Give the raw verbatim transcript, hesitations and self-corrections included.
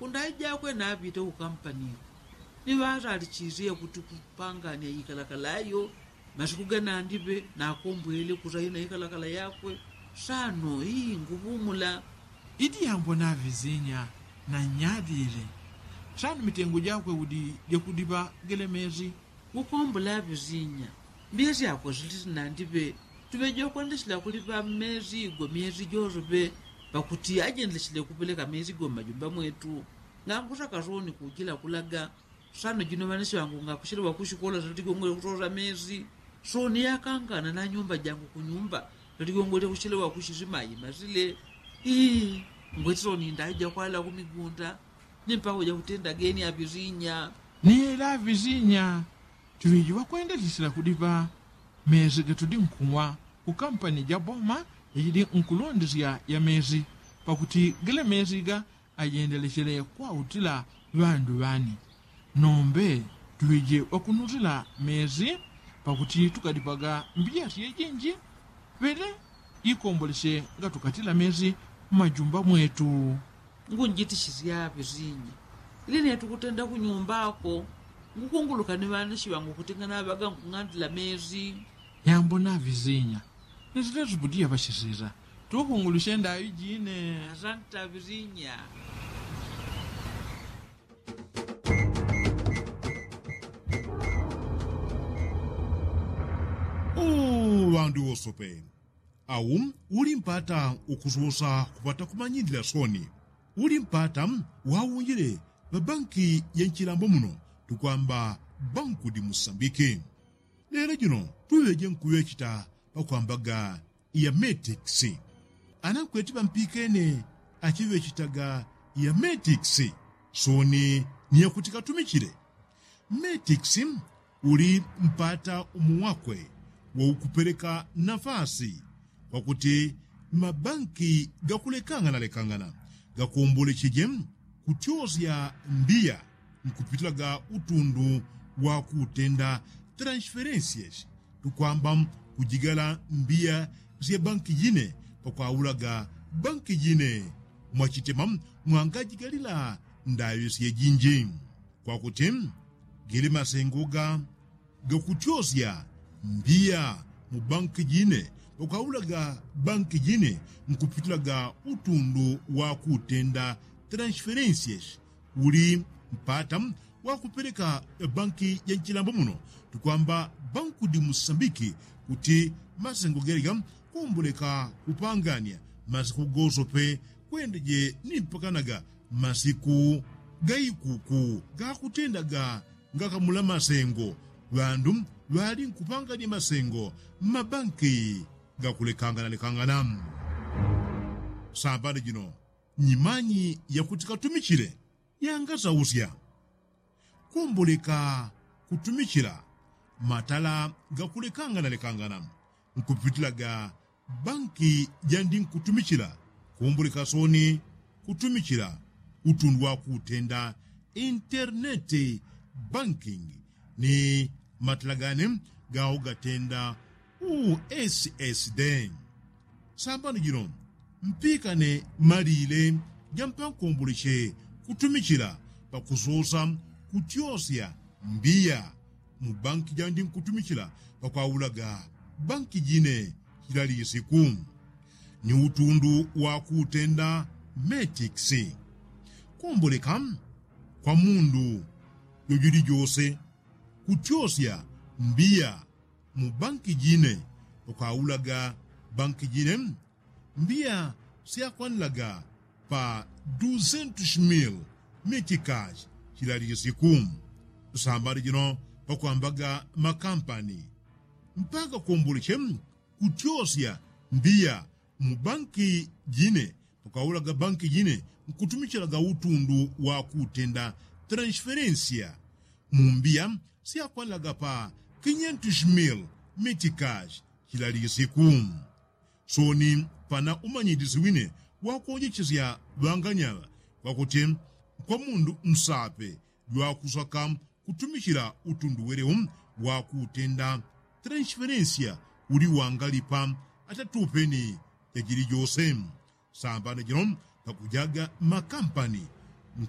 Kundayi jakwe napite kukampani ni ŵasalichisye kuti kupanganya ikalakala yo masiku ganandiŵe nakombwele kusaina ikalakala yakwe. Sano ii nguŵumula. Idi yambo naŵizinya na nyadile. Sano mitengo jakwe udi jakudiŵa gele mezi. Ngukombwela ŵizinya. Mbyesi akwe silisi nandiŵe tuŵeje kwendesila kuliŵa mezi igwe myezi josoŵe pakuti ajendelesile kupeleka mezi igwe mmajumba mwetu. Ngankusaka soni kujila kulaga. Sano jino ŵanesi ŵangu ngakusilewa kusikola salitigongwele kusosa mezi. Soni yakangana na nyumba jangu kunyumba salitigongwele kusilewa kusisimayi masile. Ii ngweti soni ndaija kwala kumigunda ni mpaka uja kutenda geni aŵizinya. Ni ela aŵizinya. Tuŵiji ŵakwendesisila kudiŵa mezi gatudi nkuwa kukampani ja boma yajidi nkulondesya ya mezi pakuti gele mezi ga ajendelechele kwautila ŵandu ŵani. Nombe tuŵiji ŵakunutila mezi pakuti tukadipaga mbiya syejinji. Ŵele ikombolesye ngatukatila mezi mmajumba mwetu. Ngunjitisisya ŵizinya. Ili netukutenda kunyumbako ngukunguluka ni ŵanesi ŵangu kuti nganaŵaga nkung'andila mezi. Yambo naŵizinya. Nisilesupudiya ŵasisila tukungulusyenda aŵijine. Asanta ŵizinya. Ŵandu ŵosope au uli mpata ukususa kupata kumanyilila soni. Uli mpata waunjile ŵabanki ya nchilambo muno tukwamba banku di musambiki. Lelo jino tuŵeje nkuŵechita pakwambaga ya metikisi. Ana nkweti ŵampikene achiŵechitaga ya metikisi soni ni yakuti katumichile. Metikisi uli mpata umo wakwe waukupeleka nafasi kwakuti mabanki gakulekangana lekangana gakombolecheje kutyosya mbiya nkupitilaga utundu wakutenda transferensyesi tukwamba kujigala mbiya sya banki jine pakwaulaga banki jine mwachitema mwangajigalila ndaŵi syejinji. Kwakuti gili masengo ga gakutyosya mbiya mu banki jine pakwaulaga banki jine nkupitilaga utundu wakutenda transferensyesi uli mpata wakupeleka banki ja nchilambo muno tukwamba banku di musambiki kuti masengo gelega komboleka kupanganya masiku gosope kwendeje ni mpakanaga masiku gaikuku gakutendaga ngakamula masengo. Ŵandu ŵali nkupanganya masengo mmabanki gakulekanganalekangana. Sambani jino nyimanyi yakuti katumichile yangasausya komboleka kutumichila matala gakulekanganalekangana nkupitilaga banki jandi nkutumichila komboleka soni kutumichila utundu wakutenda interneti bankingi ni matala gane gao gatenda ussd. Sambani jino mpikane malile jampankomboleche kutumichila pakusosa kutyosya mbiya mu banki jandi nkutumichila pakwaulaga banki jine chila lisiku ni utundu wakutenda metikisi komboleka kwa mundu jojili jose kutyosya mbiya mu banki jine pakwaulaga banki jine mbiya syakwanilaga pa duzentus mil mitikaji chila lisiku. Sambani jino pakwambaga makampani mpaka komboleche kutyosya mbiya mu banki jine pakwaulaga banki jine nkutumichilaga utundu wakutenda transferensiya mu mbiya syakwanilaga pa kinyentus mil mitikaji chila lisiku. Soni pana umanyilisi wine wakonjechesya ŵanganyaŵa kwakuti kwa mundu nsape jwakusaka kutumichila utundu welewo wakutenda transferensiya uli wangalipa atatupeni jajili jose. Sambani jino pakujaga makampani